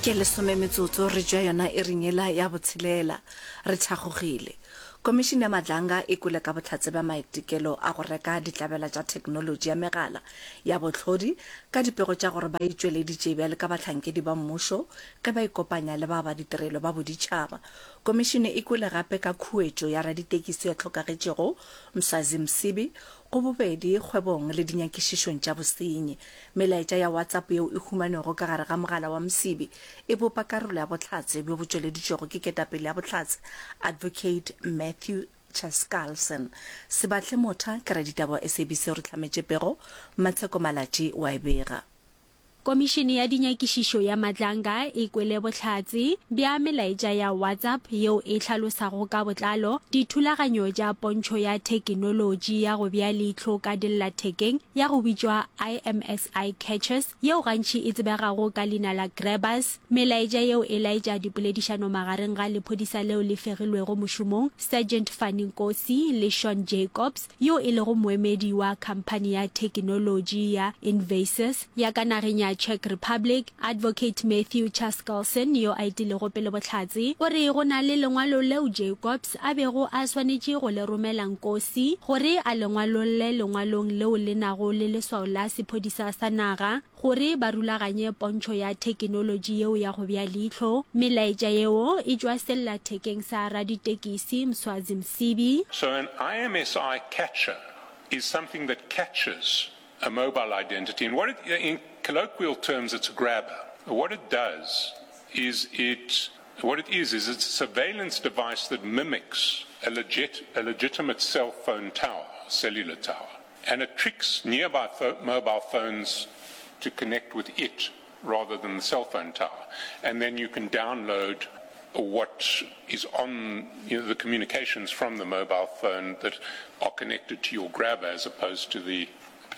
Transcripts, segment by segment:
Ke lesome metsotso re tšwa yona iring yela ya botshelela. Re thakgogile. Komišene ya Madlanga e kwele ka bohlatse bja maitekelo a go reka ditlabela tša theknolotši ya megala ya bohlodi ka dipego tša gore ba itšweleditše bjale ka bahlankedi ba mmušo ge ba ikopanya le ba ba ditirelo ba boditšhaba. Komišene e kwele gape ka khuetšo ya raditekisi yo a hlokagetšego Mswazi Msibi go bobedi kgwebong le dinyakišišong tša bosenyi. Melaetša ya WhatsApp yeo e humanwego ka gare ga mogala wa Msibi e bopa karolo ya bohlatse bjo bo tšweleditšwego ke ketapele ya bohlatse Advocate Matthew Chaskalson. Sebahle Motha ke raditaba wa SABC o re hlametše pego, Mmatsheko Malatji o a e bega. Komišene ya Dinyakišišo ya Madlanga e kwele bohlatse bja melaetša ya WhatsApp yeo e hlalosago ka botlalo dithulaganyo tša pontšho ya thekinolotši ya go bea leihlo ka dillathekeng ya go bitšwa IMSI Catchers yeo gantši e tsebegago ka leina la Grabbers. Melaetša yeo e laetša dipoledišano magareng ga lephodisa leo le fegilwego mošomong, Sergeant Fanny Nkosi le Sean Jacobs, yo e lego moemedi wa khamphani ya thekinolotši ya Invasys ya ka nageng ya Czech Republic, Advocate Matthew Chaskalson yo a etilego pele bohlatse, o re go na le lengwalo leo Jacobs a bego a swanetše go le romela Nkosi gore a le ngwalolle lengwalong leo le nago le leswao la sephodisa sa naga gore ba rulaganye pontšho ya thekinolotši yeo ya go bea leihlo. Melaetša yeo e tšwa sellathekeng sa raditekisi Mswazi Msibi. So an IMSI catcher is something that catches a mobile identity and what it, in colloquial terms it's a grabber. What it does is it, what it is, is it's a surveillance device that mimics a legit, a legitimate cell phone tower, cellular tower. And it tricks nearby mobile phones to connect with it rather than the cell phone tower. And then you can download what is on you know, the communications from the mobile phone that are connected to your grabber as opposed to the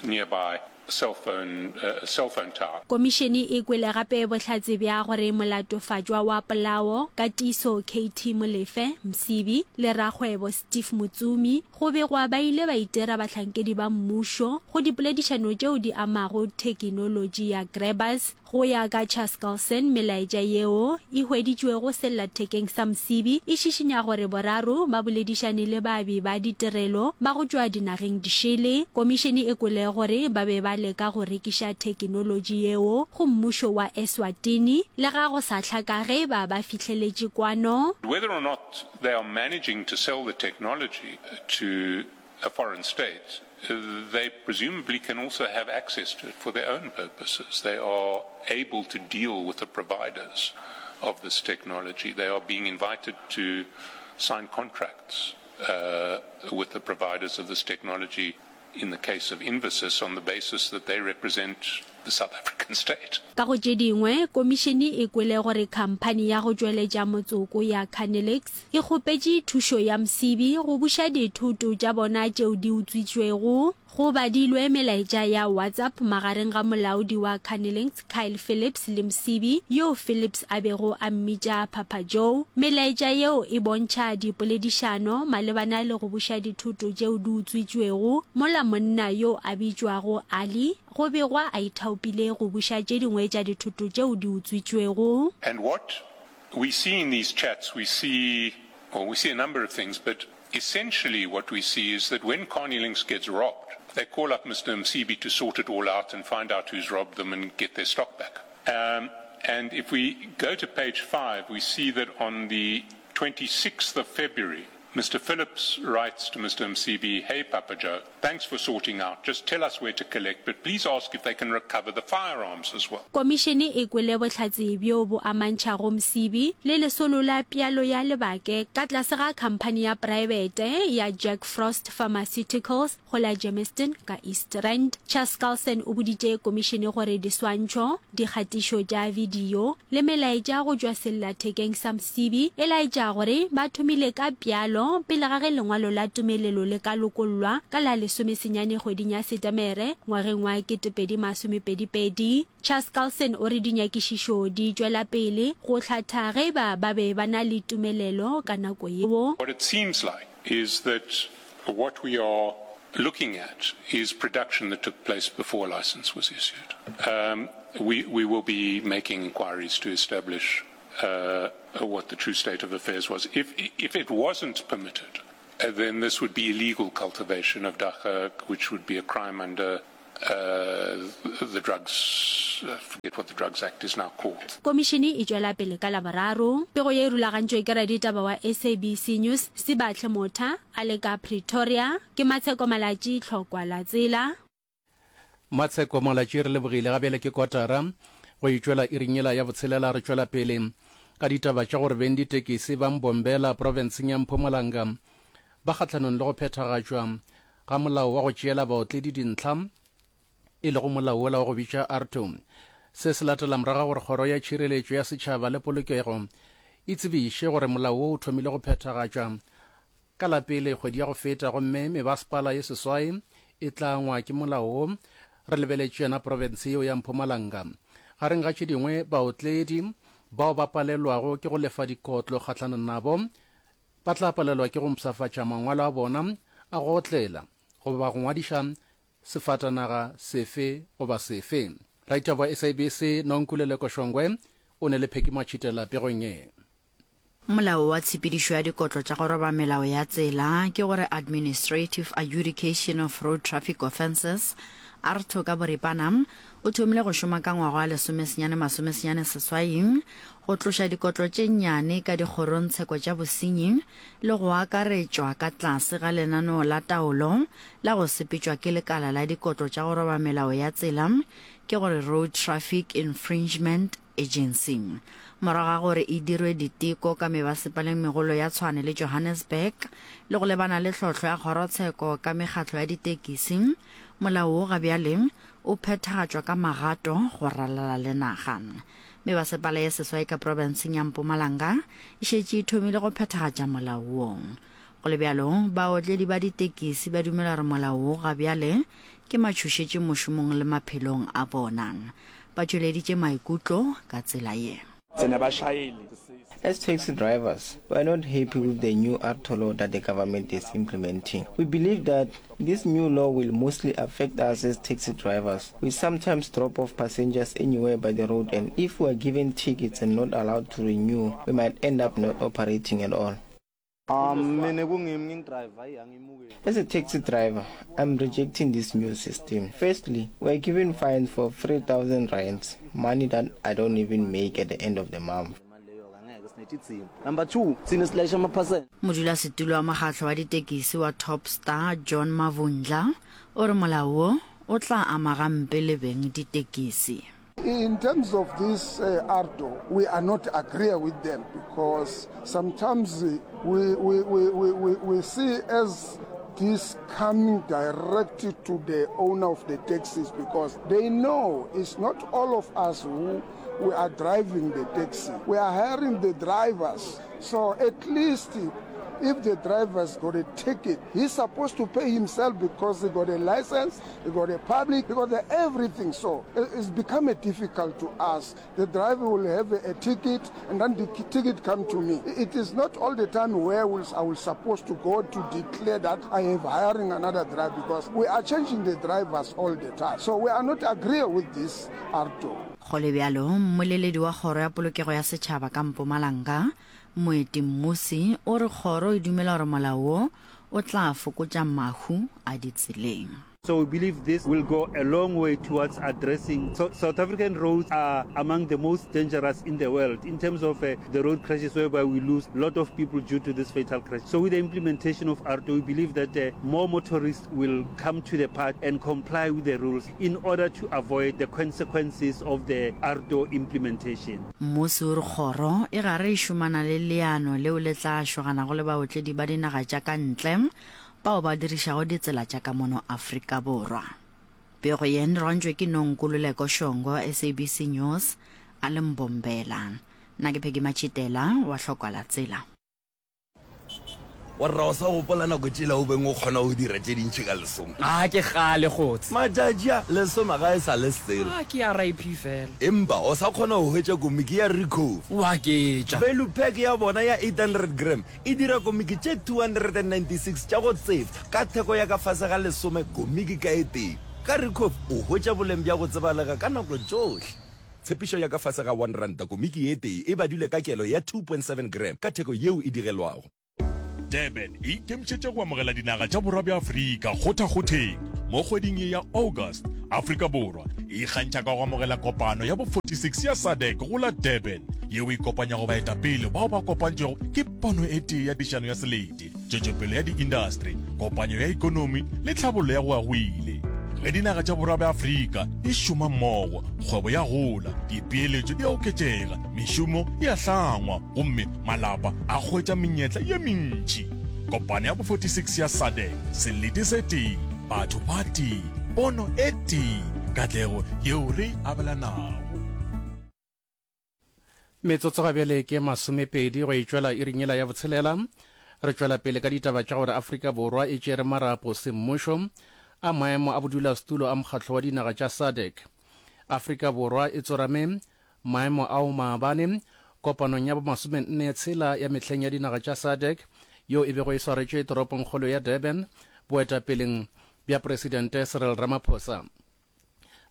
nearby cell phone, uh, cell phone tower. Komišene e kwele gape bohlatse bja gore molatofatšwa wa polao, Katiso KT Molefe, Msibi, le rakgwebo Steve Motsumi go begwa ba ile ba itira bahlankedi ba mmušo go dipoledišano tšeo di amago thekinolotši ya Grabbers. Go ya ka Chaskalson, melaetša yeo e hweditšwego sellathekeng sa Msibi e šišinya gore boraro ba boledišane le baabi ba ditirelo ba go tšwa dinageng dišele. Komišene e kwele gore ba be ba leka go rekiša thekinolotši yeo go mmušo wa Eswatini, le ga go sa hlaka ge e ba ba fihleletše kwano. Whether or not they are managing to sell the technology to a foreign state, they presumably can also have access to it for their own purposes. They are able to deal with the providers of this technology. They are being invited to sign contracts uh, with the providers of this technology in the case of Invasys on the basis that they represent the South African state. Ka go tše dingwe, komišene e kwele gore khamphani ya go tšweletša motsoko ya Canelix e kgopetše thušo ya Msibi go buša dithoto tša bona tšeo di utswitšwego. Go badilwe melaetša ya WhatsApp magareng ga molaodi wa Carnilinx Kyle Phillips le Msibi, yoo Phillips a bego a mmitša Papa Joe. Melaetša yeo e bontšha dipoledišano malebana le go buša dithoto tšeo di utswitšwego, mola monna yo a bitšwago Ali go begwa a ithaopile go buša tše dingwe tša dithoto tšeo di utswitšwego. And what we see in these chats, we see, well, we see a number of things, but essentially what we see is that when Carnilinx gets robbed, they call up Mr. Msibi to sort it all out and find out who's robbed them and get their stock back. Um, and if we go to page 5, we see that on the 26th of February, Mr. Phillips writes to Mr. Msibi, Hey, Papa Joe, thanks for sorting out. Just tell us where to collect, but please ask if they can recover the firearms as well. Komišene e kwele bohlatse bjo bo amantšhago Msibi le lesolo la pšalo ya lebake ka tlase ga khamphani ya praebete ya Jack Frost Pharmaceuticals go la Germiston ka East Rand. Chaskalson o boditše komišene gore diswantšho, dikgatišo tša bidio le melaetša go tšwa sellathekeng sa Msibi e laetša gore ba thomile ka pšalo pele ga ge lengwalo la tumelelo le ka lokollwa ka la lesomesenyane kgweding ya Setemere ngwageng wa 2022. Chaskalson o re dinyakišišo di tšwela pele go hlatha ge e ba ba be ba na le tumelelo ka nako yeo. What it seems like is that what we are looking at is production that took place before a license was issued. Um, We, we will be making inquiries to establish uh, what the true state of affairs was. If, if it wasn't permitted, uh, then this would be illegal cultivation of dagga, which would be a crime under uh, the drugs, I forget what the Drugs Act is now called. Komišene e tšwela pele ka Laboraro. Pego ye e rulagantšwe ke raditaba wa SABC News, Sibahle Motha, a le ka Pretoria. Ke Matsheko Malatji, Tlhokwa la Tsela. Matsheko Malatji re lebogile. Ga bjale ke kotara go e tšwela iring yela ya botshelela. Re tšwela pele ka ditaba tša gore beng ditekisi ba Mbombela profenseng ya Mpumalanga ba kgahlanong le go phethagatšwa ga molao wa go tšeela baotledi dintlha e lego molao wola wa go bitša ARTO. Se se latela morago ga gore Kgoro ya Tšhireletšo ya Setšhaba le Polokego e tsebiše gore molao wo o thomile go phethagatšwa ka la pele kgwedi ya go feta gomme mebasepala ye seswai e tla angwa ke molao wo. Re lebeletše yona profense yeo ya Mpumalanga. Gareng ga tše dingwe, baotledi bao ba palelwago ke go lefa dikotlo kgahlanong nabo ba tla palelwa ke go mpshafatša mangwalo a bona a go otlela goba go ngwadiša sefatanaga sefe goba sefe. Raitaba wa SABC Nonkululeko Shongwe o ne le Phecky Matšhitela pegong ye. Molao wa Tshepedišo ya Dikotlo tša go Roba Melao ya Tsela, ke gore Administrative Adjudication of Road Traffic Offences, AARTO ka boripana, o thomile go šoma ka ngwaga wa lesomesenyane masomesenyane seswai go tloša dikotlo tše nnyane ka dikgorongtsheko tša bosenyi le go akaretšwa ka tlase ga lenaneo la taolo la go sepetšwa ke lekala la dikotlo tša go roba melao ya tsela, ke gore Road Traffic Infringement Agency. Morago ga gore e dirwe diteko ka mebasepaleng megolo ya Tshwane le Johannesburg le go lebana le tlhohlo ya kgorotsheko ka mekgatlo ya ditekisi, molao wo ga bjale o phethagatšwa ka magato go ralala le naga. Mebasepala ye seswai ka profenseng ya Mpumalanga e šetše e thomile go phethagatša molao wo. Go le bjalo, baotledi ba ditekisi ba dumela gore molao wo ga bjale ke matšhošetši mošomong le maphelong a bona. Ba tšweleditše maikutlo ka tsela ye. As taxi drivers, we are not happy with the new AARTO law that the government is implementing. We believe that this new law will mostly affect us as taxi drivers. We sometimes drop off passengers anywhere by the road and if we are given tickets and not allowed to renew, we might end up not operating at all. As a taxi driver, I'm rejecting this new system. Firstly, we're given fines for 3,000 rands, money that I don't even make at the end of the month. Modulasetulo wa mokgatlo wa ditekisi wa Top Star, John Mavundla, o re molao wo o tla ama gampe le beng ditekisi. In terms of this uh, ARDO, we are not agree with them because sometimes we, we, we, we, we, we see as this coming directly to the owner of the taxis because they know it's not all of us who we are driving the taxi. We are hiring the drivers. So at least if the driver's got a ticket, he's supposed to pay himself because he got a license, he got a public, he got a everything. So it's become a difficult to us. The driver will have a, a ticket and then the ticket come to me. It is not all the time where will, I will supposed to go to declare that I have hiring another driver because we are changing the drivers all the time. So we are not agree with this ARTO. Go le bjalo, mmoleledi wa Kgoro ya Polokego ya Setšhaba ka Mpumalanga, Moeti Mmusi, o re kgoro e dumela gore molao wo o tla fokotša mahu a ditseleng. So we believe this will go a long way towards addressing so South African roads are among the most dangerous in the world in terms of uh, the road crashes whereby we lose a lot of people due to this fatal crash. So with the implementation of ARTO, we believe that uh, more motorists will come to the park and comply with the rules in order to avoid the consequences of the ARTO implementation. Mmusi o re kgoro e gare e šomana le leano leo le tla šoganago le baotledi ba dinaga tša ka ntle bao ba dirišago ditsela tša ka mono Afrika Borwa. Pego ye e rwantšwe ke Nonkululeko Shongwe wa SABC News a le Mbombela. Nna ke Peggy Matšhitela wa Hlokwalatsela. Warra o sa gopola nako tšela o beng o kgona go dira tše dintši ka lesome? A ke kgale kgotse. Matšatši a, lesome ga e sa le selo. A ke RIP fela. Empa o sa kgona go hwetša komiki ya Ricoh. O aketša. Value pack ya bona ya 800 gram e dira komiki tše 296 tša go tsefa ka theko ya ka fase ga lesome komiki ka e tee. Ka Ricoh o hwetša boleng bja go tsebalega ka nako tšohle. Tshepišo ya ka fase ga R1 komiki ye tee e badilwe ka kelo ya 2.7 gram ka theko yeo e digelwago. Durban e ikemišetše go amogela dinaga tša Borwa bja Afrika kgothakgotheng mo kgweding ye ya August. Afrika Borwa e ikgantšha ka go amogela kopano ya bo 46 ya SADC go la Durban, yeo e kopanyago baetapele bao ba kopantšwego ke pono e tee ya tišano ya selete, tšwetšopele ya diindastri, kopanyo ya ekonomi le tlhabollo ya go ya go ile. Ge dinaga tša Borwa bja Afrika di šoma mmogo, kgwebo ya gola, dipeeletšo di a oketšega, mešomo e a hlangwa gomme malapa a hwetša menyetla ye mentši. Kopano ya bo 46 ya SADC, selete se tee, batho ba tee, pono e tee, katlego yeo re e abelanago. Metsotso ga bjale ke masomepedi go e tšwela iring yela ya botshelela. Re tšwela pele ka ditaba tša gore Afrika Borwa e tšere marapo semmušo a maemo a bodulasetulo a mokgatlo wa dinaga tša SADC. Afrika Borwa e tsorame maemo ao maabane kopanong ya bomasomenne tshela ya mehleng ya dinaga tša SADC yeo e bego e swaretšwe toropongkgolo ya Durban boetapeleng bja Presidente Cyril Ramaphosa.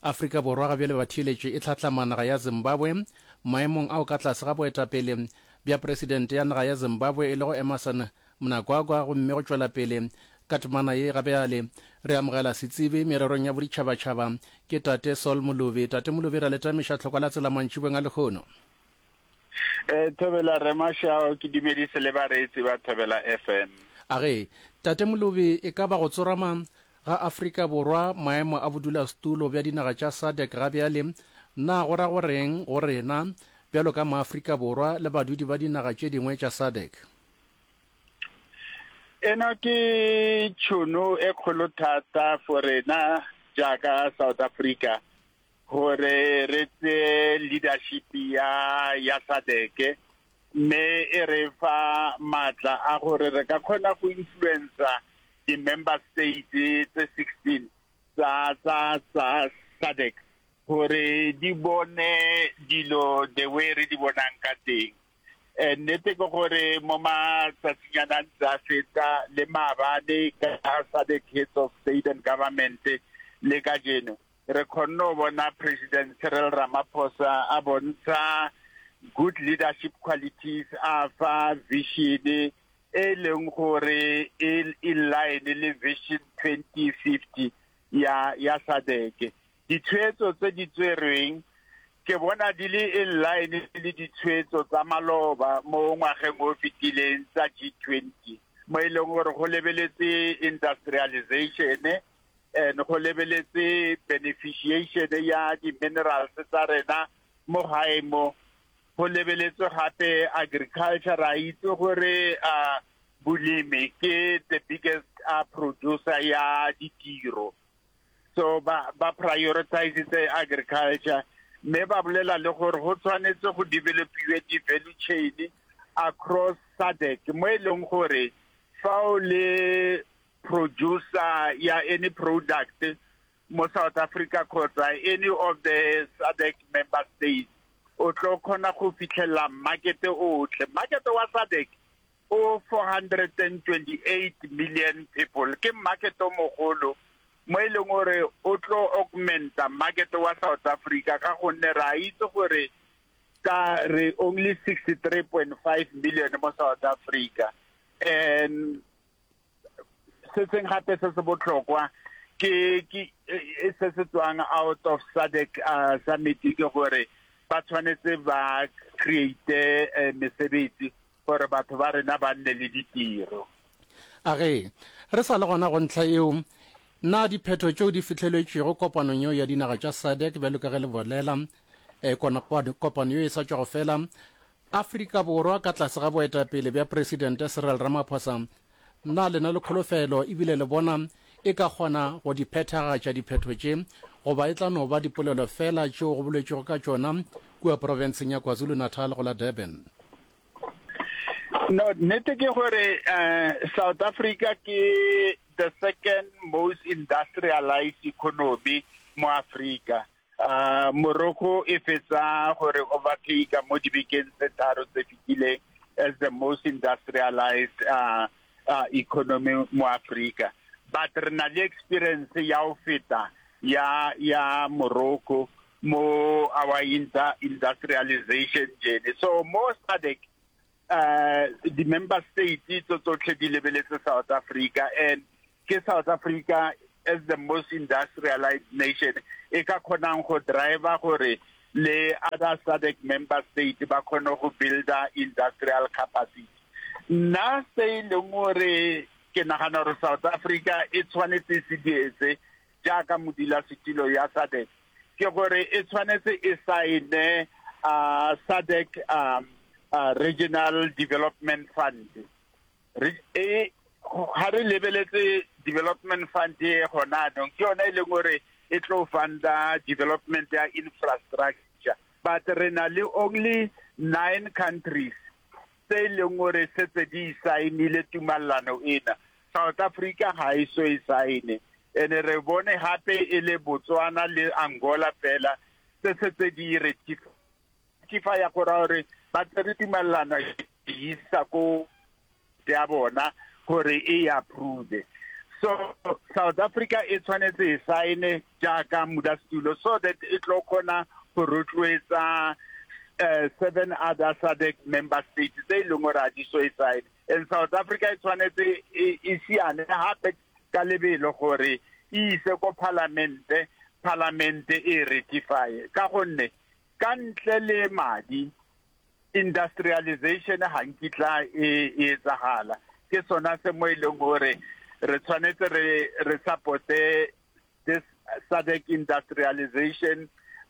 Afrika Borwa ga bjale batheeletši e hlatlama naga ya Zimbabwe maemong ao ka tlase ga boetapele bja Presidente ya naga ya Zimbabwe e lego Emmerson Mnangagwa gomme go tšwela pele ka temana ye ga bjale re amogela setsebi mererong ya boditšhabatšhaba ke Tate Saul Molobi. Tate Molobi ra le tamiša tlhokwa la tsela mantšibeng a lehono. Eh, Thobela Rre Mashao, ke dumedise le bareetsi ba Thobela FM. A ge, Tate Molobi, e ka ba go tsorama ga Afrika Borwa maemo a bodulasetulo bja dinaga tša SADC ga bjale, na go ra go reng go rena bjalo ka maAfrika Borwa le badudi ba dinaga tše dingwe tša SADC? Eno ke tšhono e kgolo thata for rena jaaka South Africa gore re tseye leadership ya ya SADC mme e re fa maatla a gore re ka kgona go influencer di-member states tse 16 tsa tsa tsa SADC gore di bone dilo the way re di bonang ka teng. Eh, nnete ke gore mo matsatsinyana a ntse a feta le maabane ka SADC Heads of State and Government le kajeno re kgonne go bona President Cyril Ramaphosa a bontsha good leadership qualities a fa vision e leng gore e in line le vision 2050 ya ya SADC ditshwetso tse di tserweng ke bona di le in line le ditshwetso tsa maloba mo ngwageng o fetileng tsa G20 mo e leng gore go lebeletse industrialization and go lebeletse beneficiation ya di-minerals tsa rena mo gae mo go lebeletswe gape agriculture ra itse gore uh, bolemi ke the biggest uh, producer ya ditiro so ba ba prioritizitse agriculture mme ba bolela le gore go tshwanetse go developiwe di-value chain across SADC mo e leng gore fa o le producer ya any product mo South Africa kgotsa any of the SADC member states o tlo kgona go fitlhelela market otlhe market wa SADC o 428 million people ke market o mogolo mo e leng gore o tlo augmenta market wa South Africa ka gonne re a itse gore ka re only 63.5 million mo South Africa and se seng gape se se botlhokwa ke ke e, se se tswang out of SADC uh, summit ke gore ba tshwanetse ba create eh, mesebetsi gore batho ba rena ba nne le ditiro. A ge re sa le gona go ntlha eo, na diphetho tšeo di fihleletšwego kopanong yeo ya dinaga tša SADC bjalo ka ge le bolela, eh, kopano yeo e sa tšwa go fela, Afrika Borwa ka tlase ga boetapele bja Presidente Cyril Ramaphosa, na le na le kholofelo ebile le bona e ka kgona go di phethagatša diphetho tše goba e tla no ba dipolelo feela tšeo go boletšwego ka tšona kua profenseng ya KwaZulu-Natal go la Durban? No, nnete ke gore uh, South Africa ke the second most industrialized economy mo Africa. Uh, Morocco e fetsa gore overtake mo dibekeng tse tharo tse fetileng as the most industrialized uh, uh, economy mo Africa. But re na le experience ya go feta ya ya Morocco. mo our industrialization journey. So mo SADC uh, di-member states tso tsotlhe di lebeletse South Africa and ke South Africa as the most industrialized nation e ka kgonang go driver gore le other SADC member state ba kgone go builda industrial capacity. Nna se e leng gore ke nagana gore South Africa e tshwanetse e se dietse jaaka modulasetilo ya SADC ke gore e tshwanetse e saene uh, SADC um, uh, Regional Development Fund. Re, e, ga re lebeletse development fund e gona anong ke yone e leng gore e tlo funda development ya infrastructure but re na le only nine countries tse e leng gore setse di saenile tumalano ena. South Africa ga e so e saene. Ene re bone gape e le Botswana le Angola fela tse setse di ratify ya go raya gore ba tsere tumalano e isa ko ya bona gore e approve. So South Africa e tshwanetse e saene jaaka modulasetulo so that e tlo kgona go rotloetsa uh, seven other SADC member states tse e leng gore a di so e saene. And South Africa e tshwanetse e, e siane gape ka lebelo gore e ise ko palamente, palamente e ratify ka gonne ka ntle le madi Industrialization ga nkitla e e etsagala. Ke sona se mo e leng gore re tshwanetse re re supporte this SADC Industrialization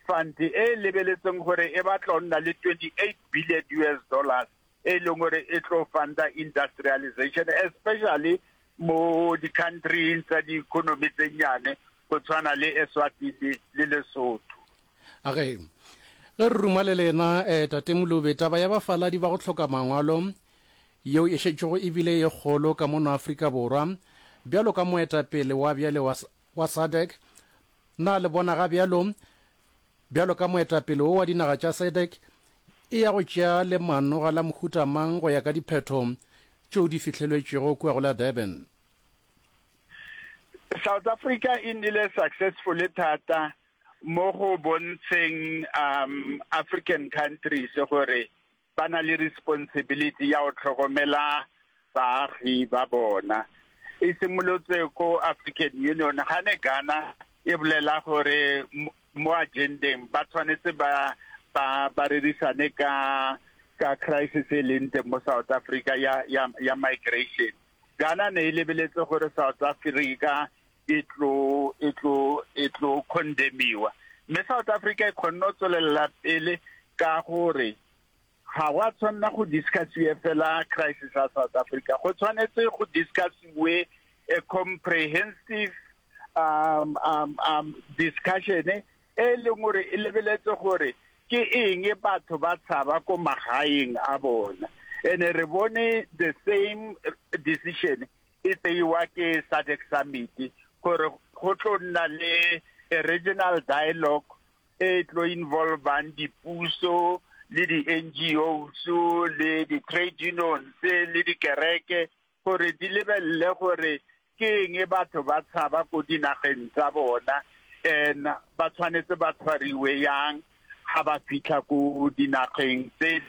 Fund e e lebeletseng gore e batla go nna le 28 billion US dollars e leng gore e tlo funda industrialization especially mo di-countryng tsa di-economy tse nnyane go tshwana le Eswatini le Lesotho. A ge ge re ruma le lena eh, Tate Molobe, taba ya bafaladi ba go hloka mangwalo yeo e šetšego e bile ye kgolo ka mono Afrika Borwa, bjalo ka moetapele wa bjale wa, wa SADC, na le bona ga bjalo bjalo ka moetapele wo wa dinaga tša SADC e ya go tšea lemanoga la mohuta mang go ya ka diphetho tšeo di fihlelwetšego kua go la Durban? South Africa e nnile successful thata mo go bontsheng um African countries gore ba na le responsibility ya go tlhokomela baagi ba bona. E simolotse ko African Union ga ne Ghana e bolela gore mo agendeng ba tshwanetse ba ba ba rerisane ka ka crisis e leng teng mo South Africa ya ya ya migration. Ghana ne e lebeletse gore South Africa e tlo e tlo e tlo condemniwa mme South Africa e kgonne go tswelela pele ka gore ga wa tshwanela go discussiwe fela crisis ya South Africa go tshwanetse go discussiwe a comprehensive um, um, um, discussion e leng gore e lebeletse gore ke eng batho ba tshaba ko magaeng a bona ene re bone the same decision e tseiwa ke SADC Summit gore go tlo nna le a regional dialogue e tlo involvang dipuso le di-NGOs le di-trade unions le dikereke gore di lebelele gore ke eng batho ba tshaba ko dinageng tsa bona and ba tshwanetse ba tshwariwe yang ga ba fitlha ko dinageng tse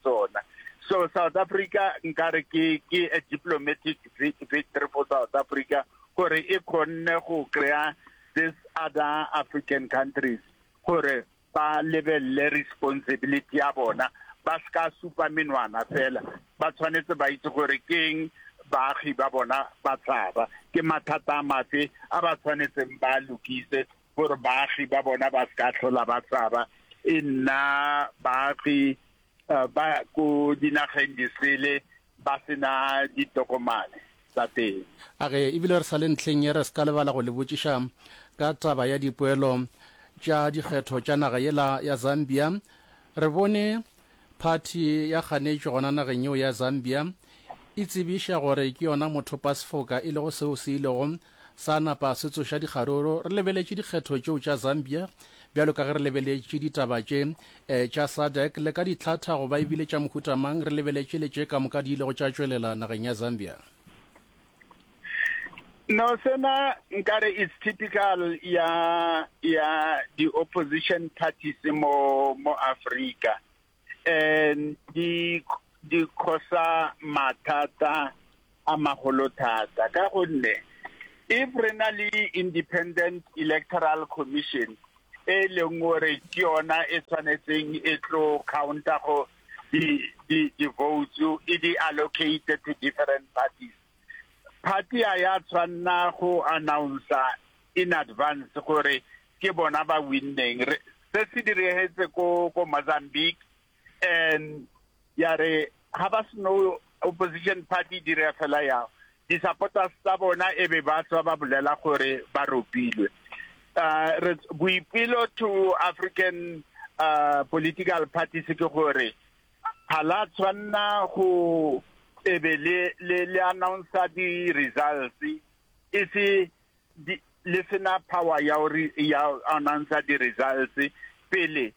tsona. So South Africa nkare ke ke a diplomatic victory for South Africa gore e kgonne go kry-a this other African countries gore ba lebelele responsibility ya bona ba se supa menwana fela ba tshwanetse ba itse gore keng baagi ba bona ba tshaba ke mathata a mafe a ba tshwanetseng ba lokise gore baagi ba bona ba se ka tlhola ba tshaba e nna baagi eh, ba ko dinageng disele ba sena ditokomane tsa teng. A re ebile re sa le ntlheng ye re se ka lebala go le botšiša ka taba ya dipoelo tša dikgetho tša naga yela ya Zambia. Re bone phathi ya kganetšo gona nageng yeo ya Zambia e tsebiša gore ke yona mothopasefoka e lego seo se ilego sa napa se tsoša dikgaruru. Re lebeletše dikgetho tšeo tša Zambia bjalo ka ge re lebeletše ditaba tše eh, tša SADC le ka ditlhatha goba ebile tša mohuta mang, re lebeletše le tše ka moka di ilego tša tšwelela nageng ya Zambia. No sena nkare it's typical ya ya di opposition parties mo mo Africa and di di khosa mathata a magolo thata ka gonne if re na le independent electoral commission e leng gore ke yona e tshwanetseng e tlo counter go di di di votes e di allocate to different parties party a ya tshwanna go announce in advance gore ke bona ba winneng se se diregetse ko ko Mozambique and ya re ha ba seno opposition party dira fela ya di-supporters tsa bona e be ba tswa ba bolela gore ba ropilwe uh, boipelo to African uh, political parties ke gore ga la tshwanna go ebe le le le announce di results e se le sena power ya gore ya announce di results pele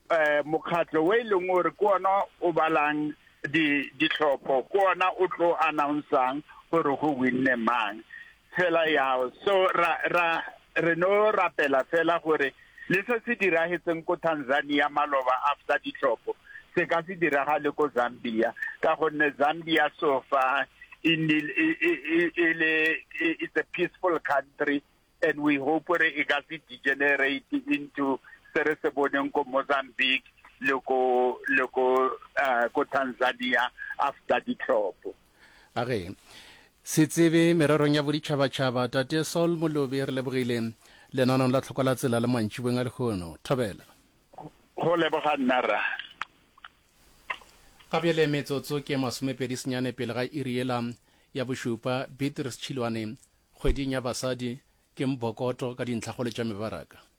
eh mokgatlo o e leng gore ke ona o balang di ditlhopho ke ona o tlo announcang gore go winne mang fela yao so ra ra re no rapela fela gore le se se diragetseng ko Tanzania maloba after ditlhopho se ka se diragale ko Zambia ka gonne Zambia so far e le it's a peaceful country and we hope gore e ka se degenerate into se re se boneng ko Mozambique le ko le ko uh, ko Tanzania after ditlhopho. A re se tsebe mererong ya boditšhabatšhaba Tate Saul Molobi re lebogile lenanong la tlhoko la tsela le mantšiboeng a lehono. Thobela. Go leboga nna rra. Ga bjale metsotso ke masomepedi senyane pele ga iri yela ya bošupa. Beatrice Tšhilwane Kgweding ya Basadi ke Mbokoto ka dintlhakgolo tša mebaraka.